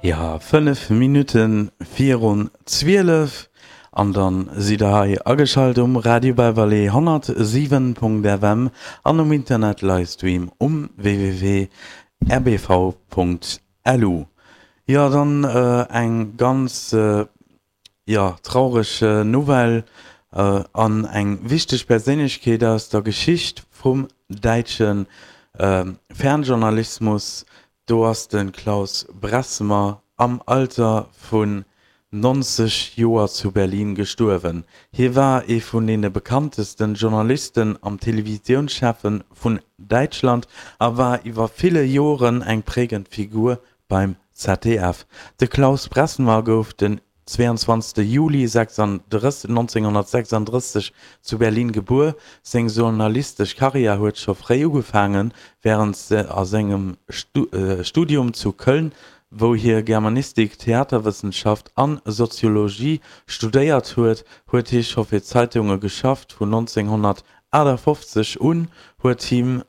Jo, 5 Minutte virun 12 an dann sidd der hei ageschalt um Radio Bellevallée 107.fm an um Internet Livestream um www.rbv.lu. Jo, dann eng ganz Jo, traureg Nouvelle an eng wichteg Perséinlechkeet aus der Geschicht vum däitsche Fernjournalismus, do ass de Klaus Bressmer am Alter vun 90 Joer zu Berlin gestuerwen. Hie war ee vun deene bekanntesten Journalisten am Televisiounschaffe vun Däitschland a war iwwer ville Joren eng prägend Figur Beim ZDF. De Klaus Bressmer gouf den 22 Juli 1936 zu Berlin gebuer. Seng journalistesch Karriär huet scho fréi ugefaangen, wärend a sengem Studium zu Köln, wou hie Germanistik, Theaterwëssenschaft an Soziologie studéiert huet, huet hie scho fir Zeitunge geschafft. Vun 1958 un huet him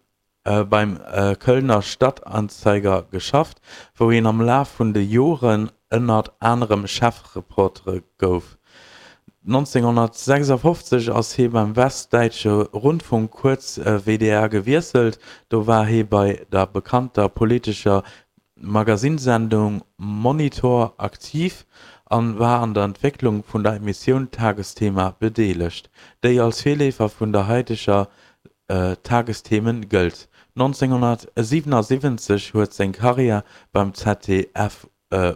beim Kölner Stadtanzeiger geschafft, wou hien am Laf vun de Joren ënnert anerem Chefreporter gouf. 1956 ass hie beim Westdäitsche Rundfunk, kuerz WDR, gewiesselt. Do war hie bei der bekannter politescher Magasinsendung Monitor aktiv an war an der Entwécklung vun der Emissioun Tagesthema bedeelegt, déi als Virleefer vun der haiteger Tagesthemen gëllt. 1977 huet seng Karriär beim ZDF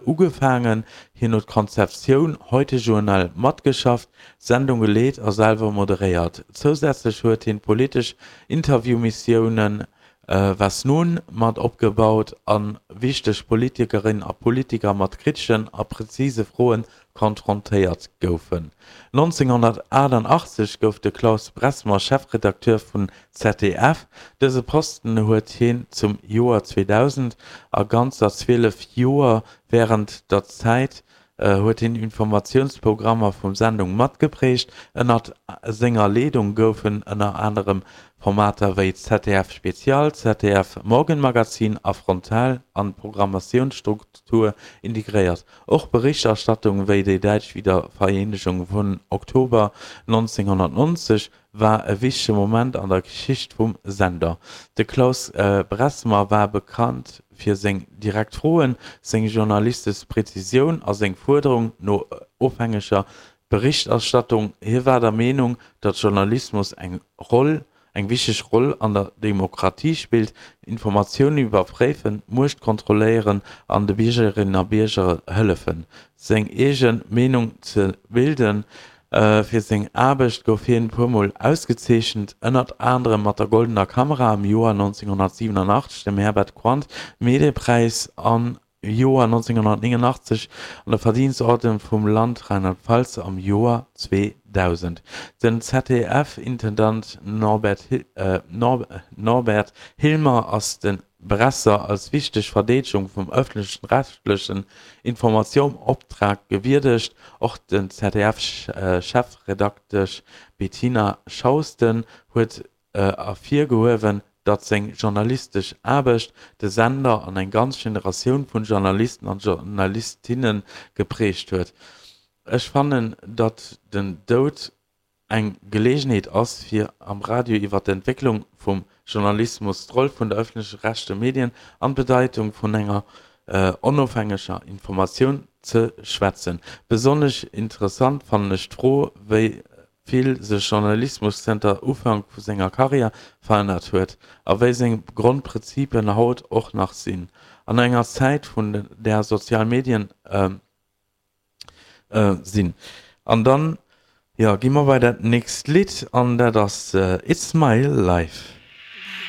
ugefaangen. Hien huet d'Konzeptioun Heute Journal matgeschafft, d'Sendung geleet a selwer moderéiert. Zousätzlech huet hien d'politesch Interviewmissiounen Was nun? mat opgebaut a wichteg Politikerinnen a Politiker mat kriteschen a prezise Froen konfrontéiert goufen. 1988 gouf de Klaus Bressmer Chefredakteur vun ZDF. Dëse Posten huet hien zum Joer 2000 a ganzer 12 Joer. Wärend der Zäit huet hien Informatiounsprogrammer vum Sendung matgeprägt. Ënnert senger Leedung goufen ënner anerem Formater wéi ZDF Spezial, ZDF Morgenmagazin a Frontal an d'Programmatiounsstruktur integréiert. Och Berichterstattung wéi déi däitsch Wiedervereenegung vun Oktober 1990 war e wichtege Moment an der Geschicht vum Sender. De Klaus Bressmer war bekannt fir seng direkt Froen, seng journalistesch Präzisioun a seng Fuerderung no ofhängeger Berichterstattung. Hie war der Meenung, datt Journalismus eng Roll eng wichteg Roll an der Demokratie spillt, Informatiounen iwwerpréifen, d'Muecht kontrolléieren an de Biergerinnen a Bierger hëllefen, seng eege Meenung ze bilden. Fir seng Aarbecht gouf hien e puermol ausgezeechent, ënnert anerem mat der Goldener Kamera am Joer 1987, dem Herbert Quandt Mediepräis an Joer 1989 an der Verdienstorden vum Land Rheinland-Pfalz am Joer 2000. Den ZDF-Intendant Norbert Hilmer ass de Bresser als wichteg Verdeedegung vum ëffentlech-rechtlechen Informatiounsoptrag gewierdegt. Och den ZDF-Chefredaktesch Bettina Schausten huet ervirgehuewen, datt seng journalistesch Aarbecht de Sender an eng ganz Generatioun vun Journalisten an Journalistinne geprägt huet. Ech fannen, datt den Doud eng Geleegenheet ass, fir am Radio iwwer d'Entwécklung vum Journalismus, d'Roll vun der ëffentlech-rechtleche Medien an d'Bedeitung vun enger onofhängeger Informatioun ze schwätzen. Besonnesch interessant fannen ech d'Fro, wéi vill sech Journalismus zënter Ufank vu senger Karriär verännert huet a wéi seng Grondprinzipien haut och nach sinn. An enger Zäit vun där sozial Medien sinn. An dann, jo, gi mer bei dat nächst Lidd an dat ass It's My Life.